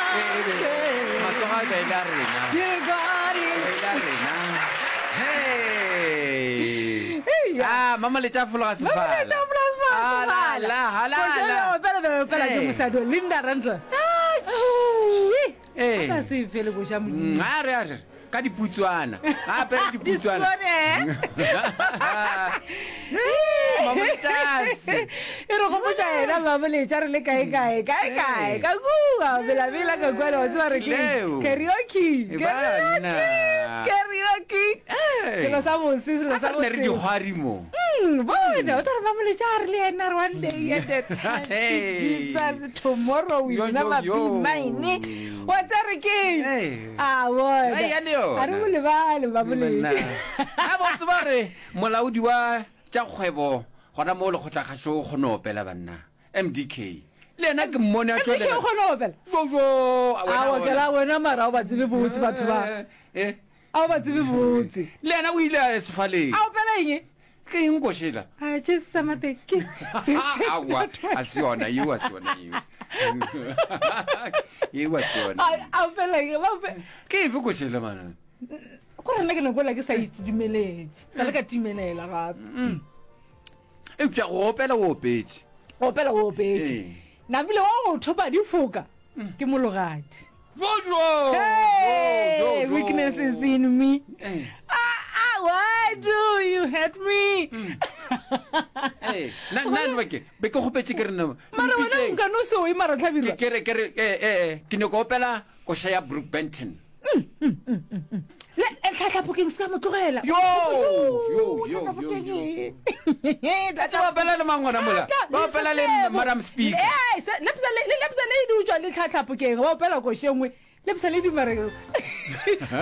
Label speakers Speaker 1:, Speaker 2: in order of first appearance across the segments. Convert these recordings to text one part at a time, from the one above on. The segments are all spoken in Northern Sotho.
Speaker 1: Matsogo a be e le a rena. E le a rena. Hey. Ah, mama letša fologa sefala.
Speaker 2: Mama letša fologa sefala.
Speaker 1: Ah, la, la, la, la.
Speaker 2: Opela, opela, opela, ke mosadi o Linda Randle.
Speaker 1: Ee.
Speaker 2: A ka se fele koša Modimo.
Speaker 1: Mm, a re a re ka diputswana a apere diputswana
Speaker 2: Disipone.
Speaker 1: Mamoletšase.
Speaker 2: e re gopotša yena mamoletša re le kae kae kae kae ka kua belabela ka kua le wa tseba re ke
Speaker 1: Leo.
Speaker 2: karaoke
Speaker 1: E banna.
Speaker 2: karaoke
Speaker 1: Ee.
Speaker 2: selo sa bose selo
Speaker 1: A
Speaker 2: sa
Speaker 1: re ne re
Speaker 2: bose
Speaker 1: dikgwari mo
Speaker 2: Mm, bona o tla re mamoletša a re le yena re one day at a time to
Speaker 1: Hey.
Speaker 2: Jesus tomorrow will
Speaker 1: Yo, yo,
Speaker 2: never be
Speaker 1: yo.
Speaker 2: mine wa tsa re ke
Speaker 1: Hey.
Speaker 2: a bona
Speaker 1: Ai, ya le yona.
Speaker 2: a re mo lebale mamoletša
Speaker 1: a bo tseba gore molaodi wa tša kgwebo gona mo lekgotlakgašo o kgone opela banna mdk le yena ke mmone a
Speaker 2: MDK
Speaker 1: tšwelela
Speaker 2: o kgona go opela
Speaker 1: jojo
Speaker 2: a okela wena mara o ba tsebe botse batho ba
Speaker 1: Eh,
Speaker 2: A o ba tsebe botse.
Speaker 1: Le yena o ile a ya sefaleng.
Speaker 2: A opela eng?
Speaker 1: Ke eng košela?
Speaker 2: A Jesu Mateke.
Speaker 1: Aowa, a se yona yeo, a se yona yeo. Yeo a se yona.
Speaker 2: A opela eng? Ba ope.
Speaker 1: Ke efe košela mana?
Speaker 2: Go rena ke nako la ke sa itumeletše. Sa le ka timelela gape.
Speaker 1: Mm. Eupša go opela o opetše.
Speaker 2: Go opela o opetše. Namile wa go thopa difoka ke mologadi.
Speaker 1: Jojo!
Speaker 2: Hey,
Speaker 1: Jo, jo, jo.
Speaker 2: weakness is in me.
Speaker 1: Eh.
Speaker 2: Ah, ah, why do you hurt me?
Speaker 1: Eh, nna nna le ke be ke kgopetše ke re nna
Speaker 2: Mara wena
Speaker 1: mpitseng.
Speaker 2: nka no se oe mara
Speaker 1: Ke
Speaker 2: hlabirwa.
Speaker 1: ke re ke re eh eh eh, ke nyaka go opela koša ya Brook Benton.
Speaker 2: Le eh, tlhatlhapokeng se ka mo tlogela.
Speaker 1: Yo, yo, yo, yo, yo. Tla ba opela le mang gona mola? Ba opela le Madam Speaker.
Speaker 2: Eh, se- lepsa le le lepsa le di utswa le tlhatlhapokeng ba opela koše nngwe lepsa le di mare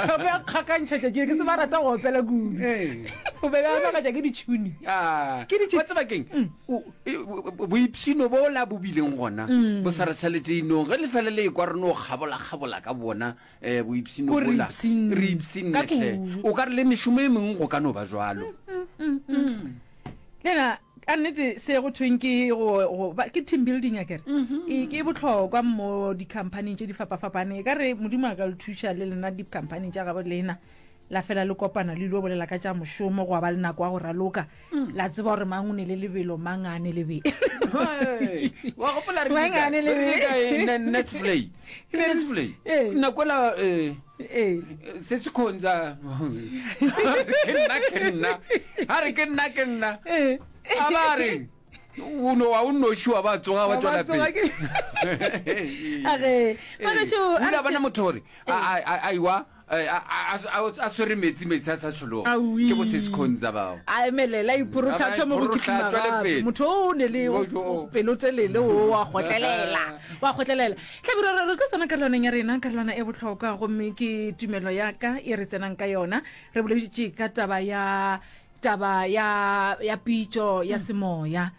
Speaker 2: ba be a kgakantšha tšatši ke se ba rata go opela kudu
Speaker 1: Ee.
Speaker 2: o be ba makatša ke ditšhuni
Speaker 1: Ah,
Speaker 2: Ke ditšhi-
Speaker 1: wa tseba keng O- e- o- boipshino bola bo bileng gona bo sa re šalete inong ge le fele le ekwa re no kgabola-kgabola ka bona um boipshino
Speaker 2: Ko re
Speaker 1: bola
Speaker 2: ipshinne.
Speaker 1: re ipshinne
Speaker 2: Ka
Speaker 1: hle
Speaker 2: kudu.
Speaker 1: o ka re le mešomo e mengwe go ka no ba jwalo
Speaker 2: le na ka nnete se go thweng ke go go ba ke team building a kere e ke bohlokwa mo di-companyng tše di fapafapaneng e ka re modimo a ka le thuša le lena di-companyng tša gabo lena la fela le kopana le ilo bolela ka tša mošomo go ba le nako ya go raloka la tseba gore mang o ne le lebelo mang a ne lebelo
Speaker 1: Hey, wa gopola re
Speaker 2: Mang a ne lebelo?
Speaker 1: Netflix Netflix
Speaker 2: Ee.
Speaker 1: nako la eh
Speaker 2: ee
Speaker 1: se se khonza ke nna ke nna a re ke nna ke nna
Speaker 2: ee
Speaker 1: a ba re o no wa o noši wa ba tsoga wa
Speaker 2: Wa ba
Speaker 1: tswela
Speaker 2: tsoga
Speaker 1: pele
Speaker 2: ke- A re, ngwanešu,
Speaker 1: o
Speaker 2: a
Speaker 1: ile
Speaker 2: re
Speaker 1: a bona
Speaker 2: ke-
Speaker 1: motho gore a- a- a iwa eh, a a- a- a swere metsi metsi a sa tshologa
Speaker 2: Aowi.
Speaker 1: ke bo se sekhonza bao
Speaker 2: a emelela a iporotlha
Speaker 1: A
Speaker 2: a thoma go
Speaker 1: iporohla,
Speaker 2: kitima
Speaker 1: a tšwele
Speaker 2: gape.
Speaker 1: pele.
Speaker 2: motho o ne le
Speaker 1: Jo, jo.
Speaker 2: pelotelele o wa kgotlelela wa kgotlelela tlabiro re re tlo tsena karolwaneng ya rena karolwana e bohlokwa gomme ke tumelo ya ka e re tsenang ka yona re boleditše ka taba ya taba ya ya pitšo ya semoya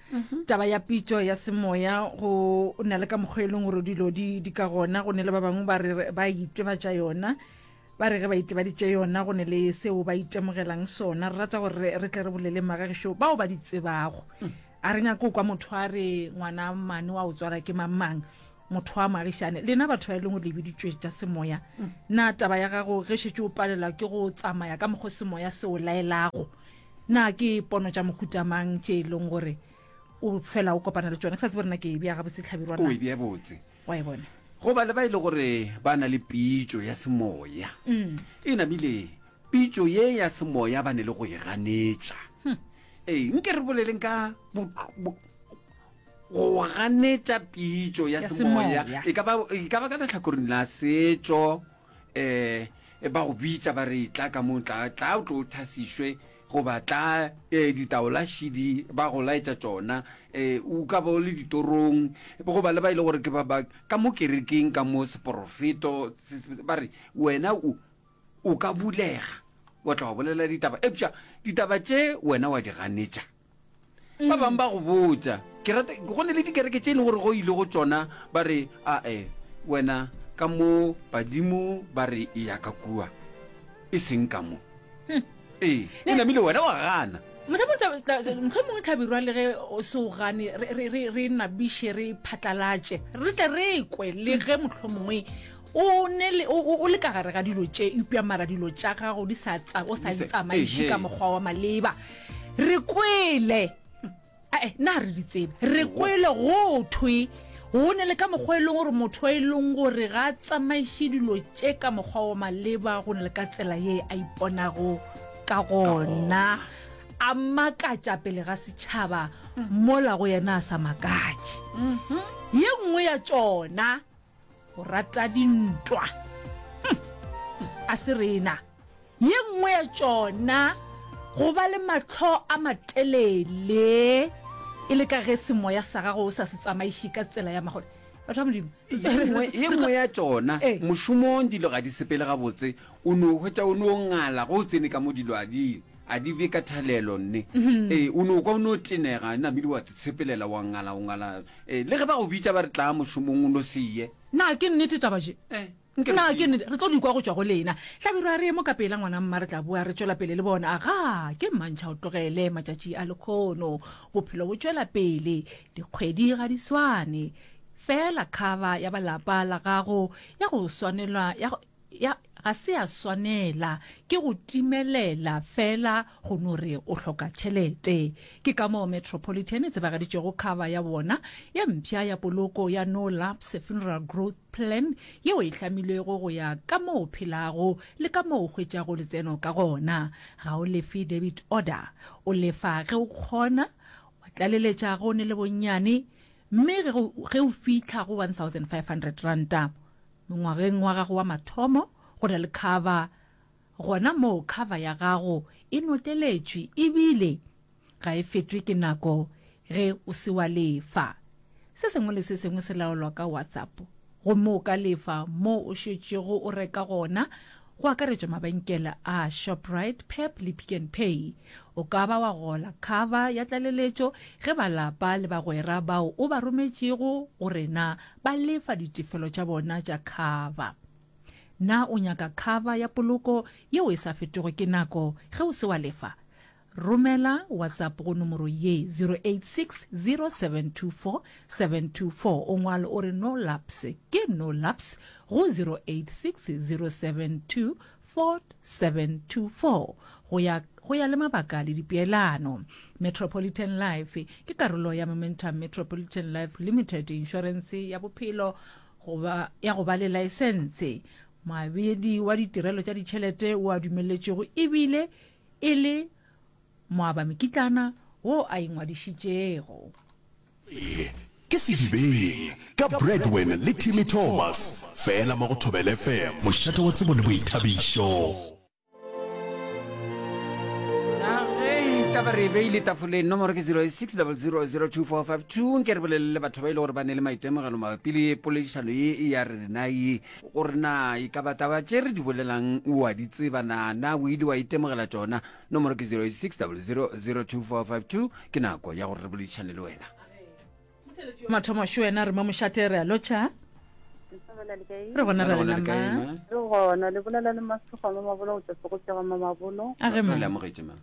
Speaker 2: taba ya pitšo ya semoya go na le ka mokgwa e leng gore dilo di di ka gona go ne le ba bangwe ba re ba itebatša yona ba re ge ba itebaditše yona go ne le seo ba itemogelang sona re rata gore re tle re bolele magagešo bao ba di tsebago a re nyake go kwa motho a re ngwana mane wa o tswala ke mang mang motho wa moagišane lena batho ba e leng gore le biditšwe tša semoya na taba ya gago ge šetše o palelwa ke go tsamaya ka mokgwa semoya se o laelago na ke pono tša mohuta mang tše e leng gore o fela o kopana le tšona ke sa tsebe rena ke e bea gabotse hlabirwa
Speaker 1: o e bea botse
Speaker 2: wa e bona
Speaker 1: go ba le ba e le gore ba na le pitšo ya semoya
Speaker 2: mm.
Speaker 1: e namile pitšo ye ya semoya ba ne le go e ganetša
Speaker 2: hmm.
Speaker 1: ee nke re boleleng ka go ganetša pitšo ya
Speaker 2: Ya
Speaker 1: semoya
Speaker 2: semoya.
Speaker 1: e ka ba e ka ba ka lehlakoreng la setšo um ba go bitša ba re tla ka mo tla tla o tlo thasišwe goba tla um ditaola šidi ba go laetša tšona um o ka ba o le ditorong goba le ba e le gore ke ba ba ka mo kerekeng ka mo seporofeto se- se- ba re wena o o ka bulega wa tla wa bolela ditaba eupša ditaba tše wena wa di ganetša Ba bangwe ba go botša, ke rata, go ne le dikereke tše e leng gore go ile go tšona ba re, ae, wena ka mo badimo ba re e ya ka kua, e seng ka mo. Ee, e namile wena wa gana.
Speaker 2: Mohlomongwe Hlabirwa le ge o se o gane, re, re, re, re nabiše, re phatlalatše, re tle re kwe le ge mohlomongwe. O ne le, o, o, o le ka gare ga dilo tše, eupša mara dilo tša gago di sa tsa, o sa di tsamaiše ka mokgwa wa maleba. Re kwele, ae, na re di tsebe, re kwele go thwe go ne le ka mokgwa e leng gore motho e leng gore ga a tsamaiše dilo tše ka mokgwa wa maleba, go ne le ka tsela ye a iponago ka gona, a makatša pele ga setšhaba mola go yena a sa makatše. Ye nngwe ya tšona. Go rata dintwa hm, a se rena. Ye nngwe ya tšona, go ba le mahlo a matelele e le ka ge semoya sa gago o sa se tsamaiše ka tsela ya magole. Batho ba Modimo.
Speaker 1: Ye nngwe ya tšona, mošomong dilo ga di sepele gabotse, o no hwetša o no ngala ge o tsene ka mo dilo a di a di be ka thalelo nne. Ee, o no kwa o no tenega namile wa tshepelela wa ngala o ngala. Ee, le ge ba go bitša ba re tlaa mošomong o no se ye.
Speaker 2: Na ke nnete taba je?
Speaker 1: Eh, nke re
Speaker 2: Na ke
Speaker 1: ke.
Speaker 2: nnete? Re tlo di kwa go tšwa go lena. Hlabirwa re ye mo ka pela ngwana mma re tla boa re tšwela pele le bona. Agaa, ke mmantšha o tlogele matšatši a lekhono. Bophelo bo tšwela pele, dikgwedi ga di swane. Feela cover ya ba lapa la gago ya go swanelwa ya go Ya, ga se ya swanela ke go timelela feela go no re o hloka tšhelete. Ke ka moo Metropolitan e tsebagaditšego cover ya bona ye mpsha ya poloko ya No Lapse Funeral Growth Plan yeo e hlamilwego go ya ka moo o phelago le ka moo o hwetšago letseno ka gona. Ga o lefe debit order, o lefa ge o kgona, wa tlaleletša ge o ne le bonnyane, mme ge, ge o fihla go R1500. Mongwageng wa gago wa mathomo go na le cover gona moo cover ya gago e notleletšwe ebile ga e fetwe ke nako ge o se wa lefa. Se sengwe le se sengwe se laolwa ka WhatsApp gomme o ka lefa mo o šetšego o reka gona go akaretšwa mabenkele a Shoprite, Pep le Pick n Pay. O ka ba wa gola cover ya tlaleletšo ge ba lapa le bagwera bao o ba rometšego go rena ba lefa ditefelo tša bona tša cover. Na o nyaka cover ya poloko yeo e sa fetwego ke nako ge o se wa lefa? Romela WhatsApp go nomoro ye 0860724724 o ngwale o re no lapse ke no lapse go 0860724724 go ya go ya le mabaka le dipeelano. Metropolitan Life ke karolo ya Momentum Metropolitan Life Limited, inšorense ya bophelo go ba ya go ba le laesense, moabedi wa ditirelo tša ditšhelete wo a dumeletšwego ebile e le moabamekitlana wo a ingwadišitšego.
Speaker 3: Se ke Sedibeng ka Bradwin le Timmy Thomas, fela mo go Thobela FM, mošate wa tsebo le boithabišo.
Speaker 1: Na ge taba re e beile tafoleng nomoro ke 06000245 nke re bolelele le batho ba e le gore ba ne le maitemogelo mabapi le poledišano ye ya rena ye gore na e ka ba taba tše re di bolelang o a di tseba na na o ile wa itemogela tšona nomoro ke 06000245 ke nako ya gore re boledišane le wena
Speaker 2: Mathomo šo wena re mo mošate re a lotšha. Re gona ra lena ma.
Speaker 4: Re gona le bolela le Masego Mamabolo go tšwa Segopša ga Mamabolo.
Speaker 2: A ge ma.
Speaker 1: Re le amogetše ma.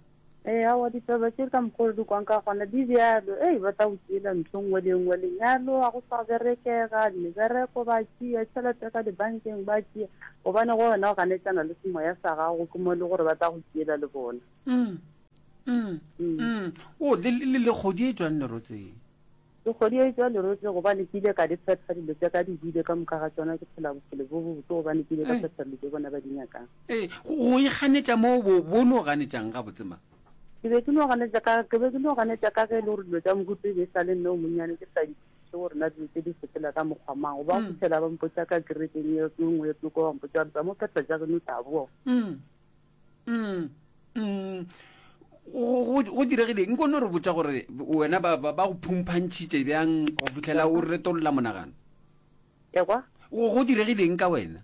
Speaker 4: Ee, aowa ditaba tše ka mokgwa o re di kwang ka gona di bjalo. Ei, ba tla go tšeela ntho nngwe le nngwe. Lenyalo ga go sa berekega, mebereko ba tšea, tšhelete ka dibankeng ba tšea. Gobane go wena o ganetšana le semoya sa gago, ke mo e le gore ba tla go tšeela le bona.
Speaker 1: Mm. Mm. Mm. O, le, le, le kgodi e tšwang lerotseng.
Speaker 4: Ke kgodi e tšwa lerotse gobane ke ile ka di phetha dilo tša ka di hwile ka moka ga tšona ke phela bophelo bo bobotse gobane ke ile ka phetha dilo tše bona ba di nyakang.
Speaker 1: Ee, go ikganetša mo bo bo no ganetšang gabotse ma?
Speaker 4: Ke be ke no ganetša ka ke be ke no ganetša ka ge e le gore dilo tša mohuta e be e sa le nna o monnyane ke sa di kwešiše gore na dilo tše di sepela ka mokgwa mang. Go ba go fihlela ba mpotša ka kerekeng ye nngwe ye tsoko ba mpotša gore tsa mo phetha tša geno o tla boa.
Speaker 1: Mm. Mm. Go, go diregile nko no re botša gore wena ba, ba, ba go phumphantšhitše bjang go fihlela o retolola monagano?
Speaker 4: Ekwa?
Speaker 1: Go, go diregileng ka wena?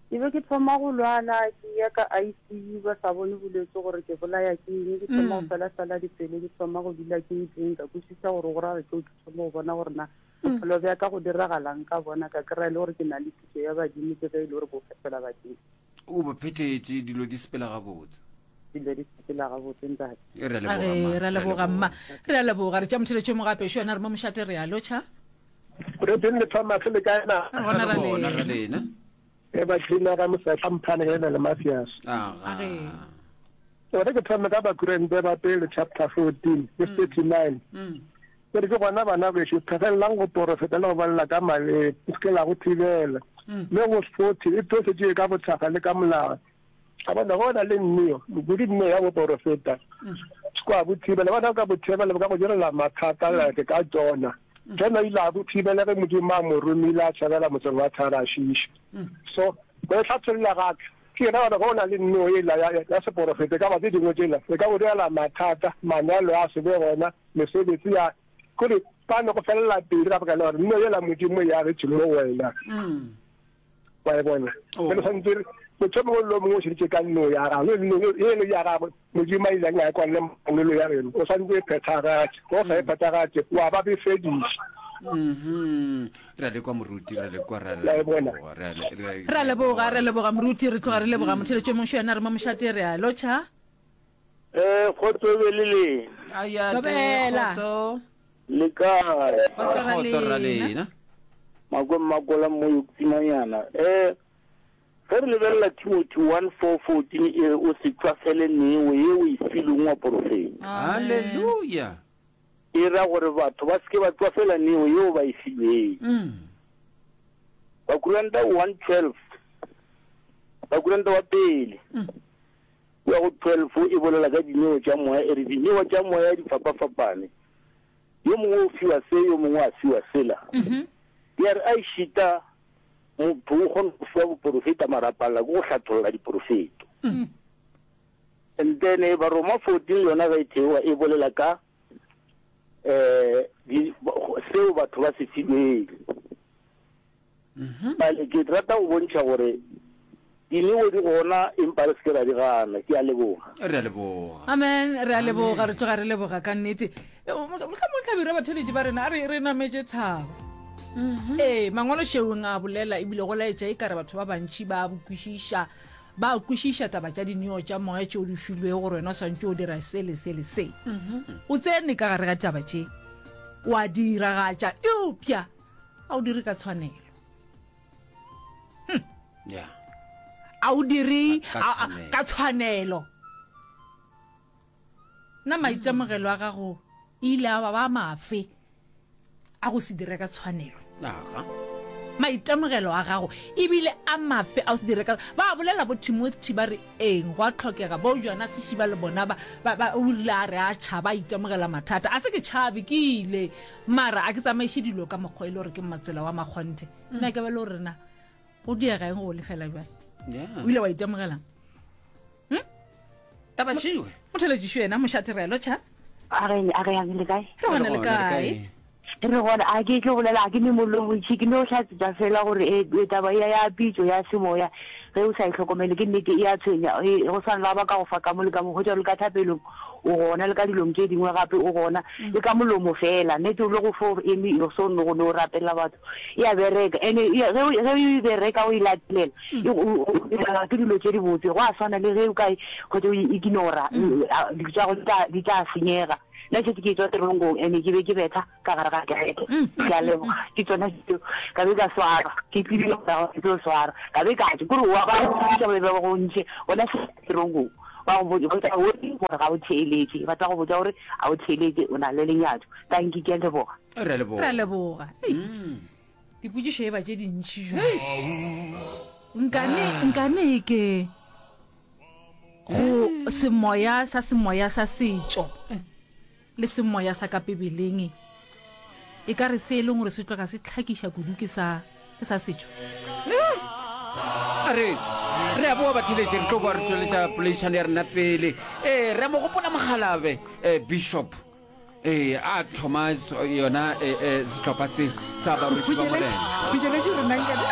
Speaker 4: Ke be ke thoma go lwala, ke ya ka ICU ba sa bone bolwetse gore ke bolaya ke eng, ke thoma go fela-fela dipelo, ke thoma go dula ke ntleng, ka kwešiša gore go ra gore ke thoma go bona gore na bophelo bja ka go diragalang ka bona, ka kry-a e le gore ke na le thuso ya badimo, ke ge e le gore bo fetola badimo.
Speaker 1: O ba phethetše, dilo di sepela gabotse.
Speaker 4: Dilo di sepela gabotse, ntate.
Speaker 1: Re a leboga, mma.
Speaker 2: Re a leboga, mma. Re a leboga. Re tša motheletšo mo gape. Šo yena re mo mošate, re a lotšha.
Speaker 5: Brethren le Thomas le kae na?
Speaker 2: Re gona ra
Speaker 1: Re gona
Speaker 2: lena.
Speaker 1: ra lena.
Speaker 5: E ba tlina ga mosehla mphane ge na le Mathias.
Speaker 1: Aga.
Speaker 2: Age.
Speaker 5: Gore ke thome ka Bakorinthe ba pele chapter 14 verse 39. Ke re ke gona bana bešo phegelelang go porofeta le go bolela ka maleme, le se ke la go thibela. Mme go 40 e tlosetšwe ka bothakga le ka molao. A bona go na le nneo, kudu nneo ya boporofeta. Se kwa bo thibela, bona ka bo thibela bo ka go direla mathata like ka Jona. Jona o ile a bo thibela ge Modimo a mo romile a tšhabela motseng wa Tarashishi. So, go e hlatholla ga ka, ke yena gore go na le nneo ela ya, ya seporofeta, e ka ba tse dingwe tšela, e ka go direla mathata, manyalo a se be gona, mesebetsi ya, kore ba no go felela pelo ka baka la gore nneo yela Modimo e agetše mo wena. Wa e bona?
Speaker 1: Oh.
Speaker 5: Jwale santse re motho o mongwe le o mongwe o šeditše ka nno ya gagwe, nno eno ya gagwe Modimo a ileng a e kwalle mangwelo ya geno, o santse e phethagatše. Ge o sa e phethagatše, wa ba befediša.
Speaker 1: Mhm. Re a le kwa moruti, re a le kwa, re a
Speaker 5: La e bona?
Speaker 1: leboga, re a le- re a-
Speaker 2: Re a leboga, re a leboga moruti, re tloga re leboga motheletši o mongwe šo yena re mo mošate, re a lotšha.
Speaker 6: Eh, kgotso e be le lena.
Speaker 1: Aya, te,
Speaker 2: Thobela.
Speaker 1: kgotso.
Speaker 6: Le kae?
Speaker 2: Kgotso ra
Speaker 1: Kgotso ra
Speaker 2: lena.
Speaker 1: lena.
Speaker 6: Makwe Mmakola mo Yokutsimanyana. Eh, ge re lebelela Timothy 1 4 14 e re o se tšwafele neo ye o e filweng wa porofeta.
Speaker 1: Haleluya.
Speaker 6: E ra gore batho ba se ke ba tšwafela neo yeo ba e filweng.
Speaker 1: Mm.
Speaker 6: Bakoranta 1 12 Bakoranta wa pele kua go 12 e bolela ka dineo tša moya e re dineo tša moya di fapafapane. Yo mongwe o fiwa se, yo mongwe a fiwa sela. Ya re a ešita motho o kgona go fiwa boporofeta mara a palela ke go hlatholla diporofeto. And then Baroma 14 le yona ge e theoga e bolela ka um seo batho ba se filweng. Bjale ke rata go bontšha gore dineo di gona empa re se ke ra di gana. Ke a leboga.
Speaker 1: Re a leboga.
Speaker 2: Amen. Re a leboga, re tloga re leboga ka nnete. Mohlomongwe hlabirwa batheeletši ba rena a re re nametše thaba. Ee, mangwalo šeong a bolela ebile go laetša e kare batho ba bantši ba kwešiša ba kwešiša taba tša dineo tša moya tšeo di filwego gore wena o swantše o dira se le se le se. O tsene ka gare ga taba tše wa diragatša eupša A o dire ka tshwanelo.
Speaker 1: Hm. Yeah.
Speaker 2: A o dire
Speaker 1: Ka
Speaker 2: ka tshwanelo. Na maitemogelo a gago ile a ba ba mafe a go se dire ka tshwanelo?
Speaker 1: Aga.
Speaker 2: Maitemogelo a gago ebile a mafe a go se dire ka ba bolela bo Timothy ba re eng go a tlhokega bo Jonas Shiba le bona ba ba o rile a re a tšhaba a itemogela mathata a se ke tšhabe ke ile Mara a ke tsamaiše dilo ka mokgwa e le gore ke matsela wa makgonthe. Nna ke ba le gore na go diega eng go lefela bjale.
Speaker 1: Yeah.
Speaker 2: O ile wa itemogelang? Hm?
Speaker 1: Taba šiwe.
Speaker 2: Motheletšišo yena mošate re a lotšha.
Speaker 7: A re a re yang le kae?
Speaker 2: Re gona le kae?
Speaker 7: Re gona a ke tlo bolela a ke ne mollo bontši ke no hlatsetša fela gore e, e taba ya ya pitšo ya semoya ge o sa e hlokomele ke nnete e a tshwenya e, go swana la ba ka go fa ka mo le ka mo hwetša le ka thapelong O gona le ka dilong tše dingwe gape, o gona le ka molomo fela. Nnete o le go fo eme o so no go no rapelela batho. E a bereka. Ene ge o ge o e bereka o e latelela, e o o ke dilo tše dibotse. Go a swana le ge o ka hwetša o e ignora, dilo tša gago di tla di tla senyega. Nna šetše ke etšwa teronkong ene ke be ke betha ka gare ga kereke. Ke a leboga. Ke tšona tšeo. Ka be ka swarwa. Ke tsebile gore ke tlo swarwa. Ka be ka tšwa. Kore wa ba go ba be ba go ntšhe gona teronkong. Ba go botša gore gore ga o theeletše, ba tla go botša gore ga o theeletše, o na le lenyatšo. Tanki, ke a leboga.
Speaker 1: Re a leboga.
Speaker 2: Re a leboga. Ei, dipotšišo e ba tše dintši jwang. Nkane, nkane ke go semoya sa semoya sa setšo. Le semoya sa ka Bibeleng e ka re se e leng gore se tloga se tlhakiša kudu ke sa, ke sa setšo.
Speaker 1: A re re a boa batheletše, re tlo boa re tšweletša poledišano ya rena pele. Ee, re a mo gopola Mokgalabe, eh, Bishop, ee, a thoma yona eh, eh, sehlopha se sa barwetsi ba Morena.
Speaker 2: Khutšeletše rena nkane.